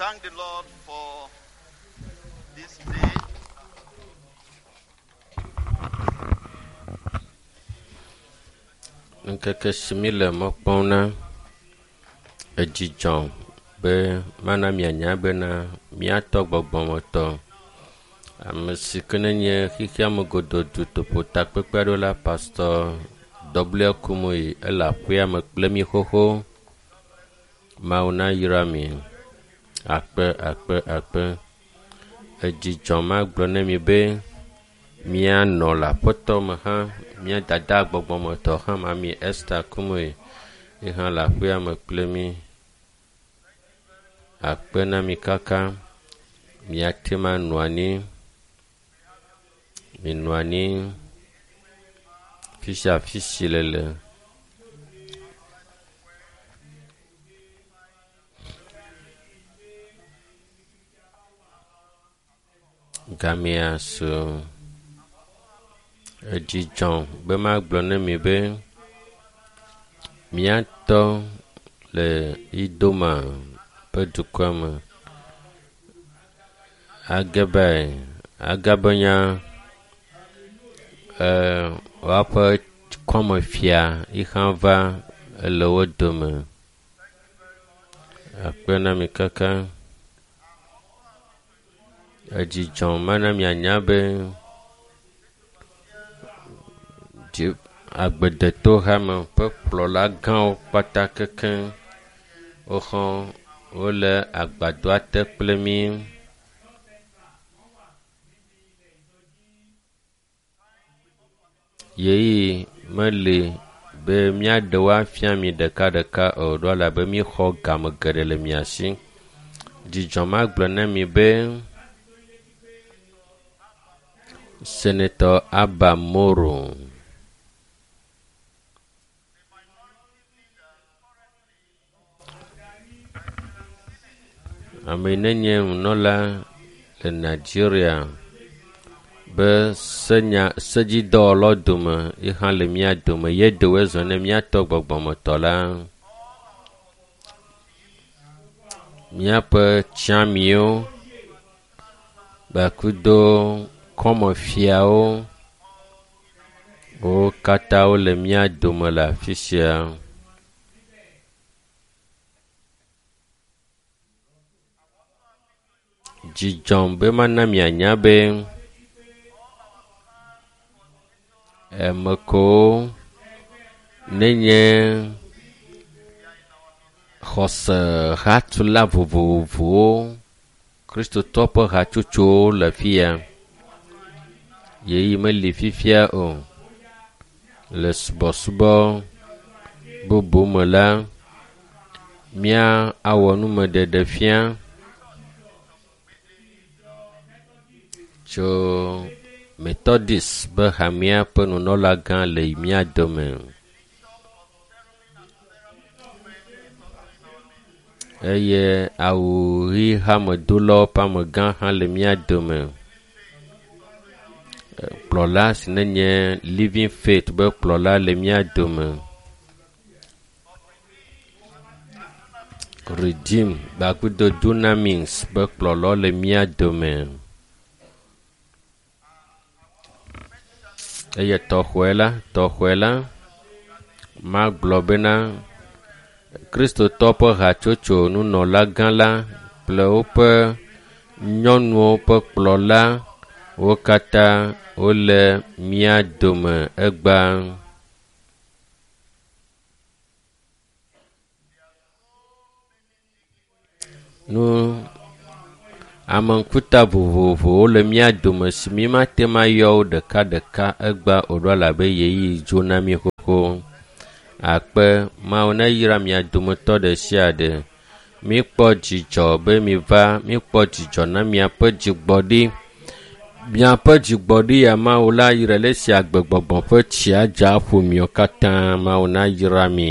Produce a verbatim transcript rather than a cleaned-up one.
thank the Lord for this day. Ŋkeke si mi le mɔ kpɔm na edzidzɔ be mana mianya bena míatɔ gbɔgbɔmetɔ ame si ke nenye xexeame godoo dutoƒo takpekpe aɖewo la pastor W Kumuyi ele aƒea me kple mi xoxo. Mawu nayra mi. Akpe akpe akpe. Edzidzɔ magblɔ ne mi be míanɔ le aƒetɔ me hã mía dada gbɔgbɔmetɔ hã mami Esther Kumuyi ye hã le aƒea me kple mi. Akpe na mi kaka. Miate ma nɔ anyi. Minɔ anyi. Fi sia fi si le le. Gamea su. Edzidzɔ be magblɔ ne mi be míatɔ le Idoma ƒe dukɔa me. Agebe agabenya e woaƒe kɔmefia yi hã va ele wo dome. Akpe na mi kaka. Edzidzɔ mana mianya be dzi agbedetohame ƒe kplɔla gãwo kpata kekeŋ woxɔ wole agbadɔa te kple mí. Yeyi meli be míaɖe wo afia mi ɖekaɖeka o ɖo elabe míxɔ game geɖe le mia si. Dzidzɔ magblɔ na mi be Senator Abba Moro ame yi nenye nunɔla le Nigeria be senya sedzidɔwɔlawo dome yi hã le mía dome ye ɖewoe zɔ ne míatɔ gbɔgbɔmetɔ la. Míaƒe tsiamiwo kpakudo kɔmefiawo wo katã wole mía dome le afi sia. Dzidzɔm be mana mianya be ame kewo nenye xɔse hatula vovovowo kristotɔ ƒe hatsotsowo le fi ya. Yeyi meli fifia o. Le subɔsubɔ bubu me la, mía awɔ numeɖeɖe fia tso Methodist be hamea ƒe nunɔlagã le mía dome. Eye awu ɣi hamedolawo ƒe amegã hã le mía dome. Kplɔla si nenye Living Faith be kplɔla le mía dome. Redeem gbakudo Dunamis be kplɔlawo le mía dome. Eye tɔxɔe la, tɔxɔe la, magblɔ bena Kristotɔ ƒe hatsotso nunɔlagã la kple woƒe nyɔnuwo ƒe kplɔla wo katã wole mía dome egbea. Nu ame ŋkuta vovovowo le mía dome si mi mate ŋu ayɔ wo ɖekaɖeka egbea o ɖo elabe ɣeyiɣi dzo na mi xoxo. Akpe Mawu neyra mia dometɔ ɖe sia ɖe. Míkpɔ dzidzɔ be miva, míkpɔ dzidzɔ na miaƒe dzigbɔɖi. Miaƒe dzigbɔɖi ya Mawu la yra le esi agbegbɔgbɔ ƒe tsia dza ƒo miwo katã. Mawu nayra mi.